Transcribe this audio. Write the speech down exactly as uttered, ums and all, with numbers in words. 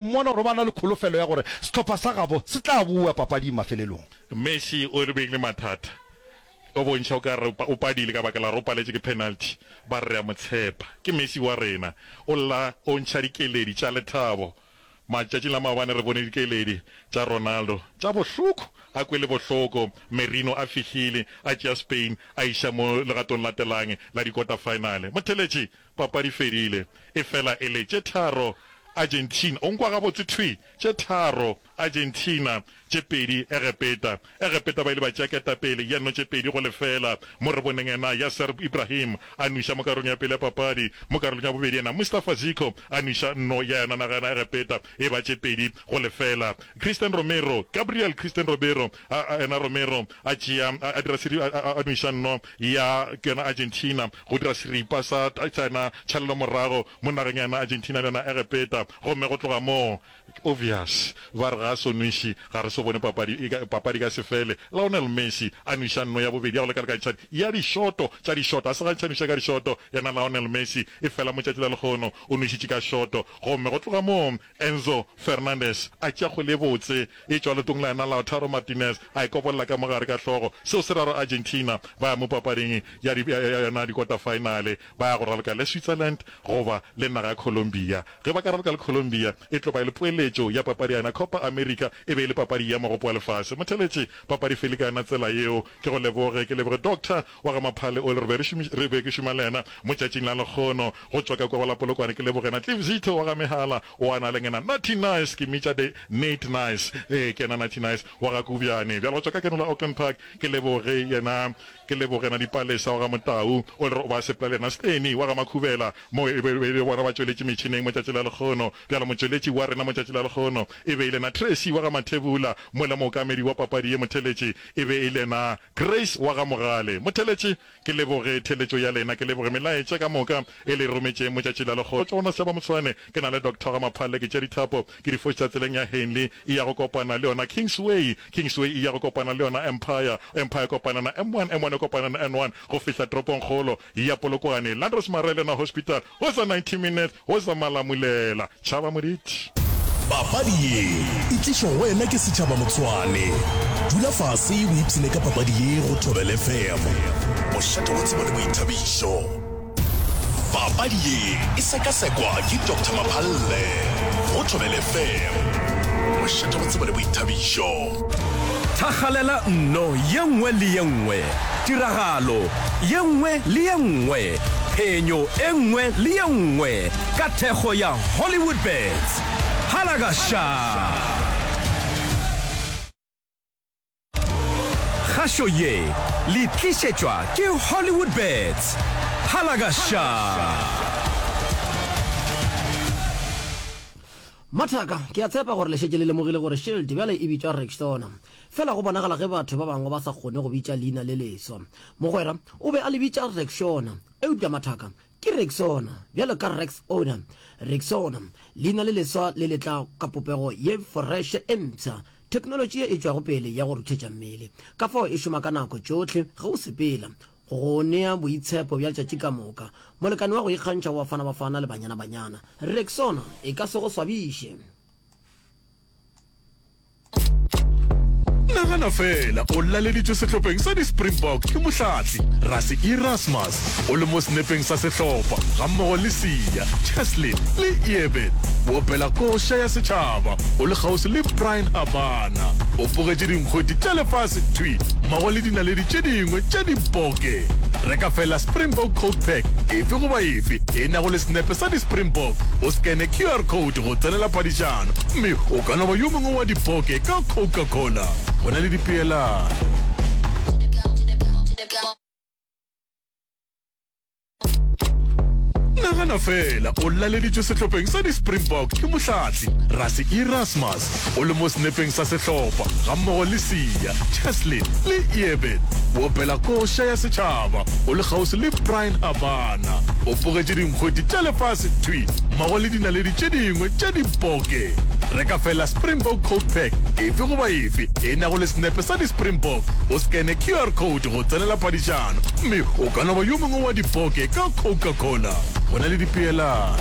Mmona gore ba na le kholofelo ya gore sehlopha sa gabo se tla boa papading mafelelong. Messi o re beng le mathata, o bontšha o ka re o padile ka baka la gore o paletše ke penalty. Ba re re a mo tshepa, ke Messi wa rena. O lla o ntšha dikeledi tša lethabo. Matšatšing la maobane re bone dikeledi tša Ronaldo tša bohloko, a kwele bohloko. Merino a fihlile a tšea Spain a iša mo legatong latelang la di-quarter-final. Motheletši, papadi fedile, efela e le tše tharo Argentina, o nkwa gabotse thwi, tše tharo Argentina, tše pedi Egepeta. Egepeta ba ile ba tšea ketapele ya nno tše pedi go lefela. Mo re boneng yena Yasser Ibrahim a nweša mo karolong ya pele ya papadi, mo karolong ya bobedi yena Mustafa Zico a nweša nno ya yona naga yona Egepeta e ba tše pedi go lefela. Christian Romero, Gabriel Christian Romero, a, a, yena Romero a tšea, a, a dira seri, a, a, a nweša nno ya yona Argentina go dira seripa sa, sa yona tšhalelomorago mo nageng ya yona Argentina le yona Egepeta. Gomme go tloga moo, obvious, ba re ga a so nweše, ga re so bone papadi, e ka, papadi ka se fele. Lionel Messi a nweša nno ya bobedi ya go lekalekantšha ya dišoto tša dišoto. A se gantši a nweša ka dišoto, yena Lionel Messi, efela mo tšatši la lekgono o nwešitše ka šoto. Gomme go tloga moo, Enzo Fernandez a tšea kgwele e botse e tšwa leotong la yena Lautaro Martinez, a e kobolla ka mo gare ka hlogo. Seo se ra gore Argentina ba ya mo papading ya, ya, ya yona dikota-faenale, ba ya go raloka le Switzerland goba le naga ya Colombia. Ge ba ka raloka le Colombia, e tlo ba e le poeletšo ya papadi ya yona Copa America, e be e le papadi ya Mogopo wa Lefase. Motheletši, papadi fele ka yona tsela yeo. Ke go leboge, ke leboge Doctor wa ga Maphale o le re be re šomiš, re be ke šoma le yena mo tšatšing la lekgono go tšwa ka kua go la Polokwane. Ke leboge yena Cliff Zitho wa ga Mehala o a na le yena Natty Nice, ke mmitša the Nate Nice, ee ke yena Natty Nice wa ga Kubjane. Bjale go tšwa ka keno la Auckland Park ke leboge yena, ke leboge yena Dipalesa wa ga Motau o le re o ba sepela le yena Steny wa ga Makhubela mo e be e le bona ba tšweletše metšhineng mo tšatši la lekgono. Bjale motšweletši wa rena mo tšatši la lekgono e be e le yena Tracy wa ga Mathebula, mola mookamedi wa papadi ye motheletši e be e le yena Grace wa ga Mogale. Motheletši, ke leboge theletšo ya lena, ke leboge melaetša ka moka e le e rometšeng mo tšatši la lekgono. Go tšwa go Noseba Motshwane, ke na le Doctor wa ga Maphalle, ke tšea dithapo ke di fošetša tseleng ya Henley e ya go kopana le yona Kingsway, Kingsway e ya go kopana le yona Empire, Empire e kopana na M one, M one e kopana na N one go fihla toropongkgolo ya Polokwane. Landros Marele yona Hospital, go sa ninety minutes, go sa Malamulela. Tšhaba Moditi. Papadi ye e tlišwa go wena ke Setšhaba Motshwane. Dula fase o ipshine ka papadi ye go Thobela F M, mošate wa tsebo le boithabišo. Papadi ye e sekasekwa ke Doctor Maphalle go Thobela F M, mošate wa tsebo le boithabišo. Thakgalela nno ye nngwe le ye nngwe, tiragalo ye nngwe le ye nngwe, phenyo e nngwe le ye nngwe ka thekgo ya Hollywoodbets. Halagaša! Kgašo ye le tlišetšwa ke Hollywoodbets. Halagaša! Mathaka, ke a tshepa gore le šetše le lemogile gore Shield bjale e bitšwa Rexona. Fela go bonagala ge batho ba bangwe ba sa kgone go bitša leina le leswa. Mogwera o be a le bitša Rexona, eupša mathaka, ke Rexona, bjalo ka Rex Owner. Rexona, leina le leswa le le tla ka popego ye foreše e mpsha, theknolotši ye e tšwago pele ya go ruthetša mmele. Ka fao e šoma ka nako tšohle ge o sepela, go go nea boitshepo bja letšatši ka moka. Molekane wa go ikgantšha wa Bafana Bafana le Banyana Banyana. Rexona e ka se go swabiše. Nagana feela o laleditšwe sehlopheng sa di-Springbok ke mohlahli Rassie Erasmus, o le mo senepeng sa sehlopha gammogo le Siya, Cheslin le Eben. O opela koša ya setšhaba o le kgauswi le Bryan Habana. O pogetše dinkgwete tša lefase thwi mmogo le dinaledi tše dingwe tša diboke. Reka feela Springbok Coke Pack efe goba efe e nago le senepe sa di-Springbok, o skene Q R code go tsenela phadišano mme o ka no ba yo mongwe wa diboke ka Coca-Cola. Go na le dipeelano. Nagana feela o laleditšwe sehlopheng sa di-Springbok ke mohlahli Rassie Erasmus, o le mo senepeng sa sehlopha gammogo le Siya, Cheslin le Eben. O opela koša ya setšhaba o le kgauswi le Bryan Habana. O pogetše dinkgwete tša lefase thwi mmogo le dinaledi tše dingwe tša diboke. Reka feela Springbok Coke Pack efe goba efe e nago le senepe sa di-Springbok, o skene Q R code go tsenela phadišano mme o ka no ba yo mongwe wa diboke ka Coca-Cola. Go na le dipeelano.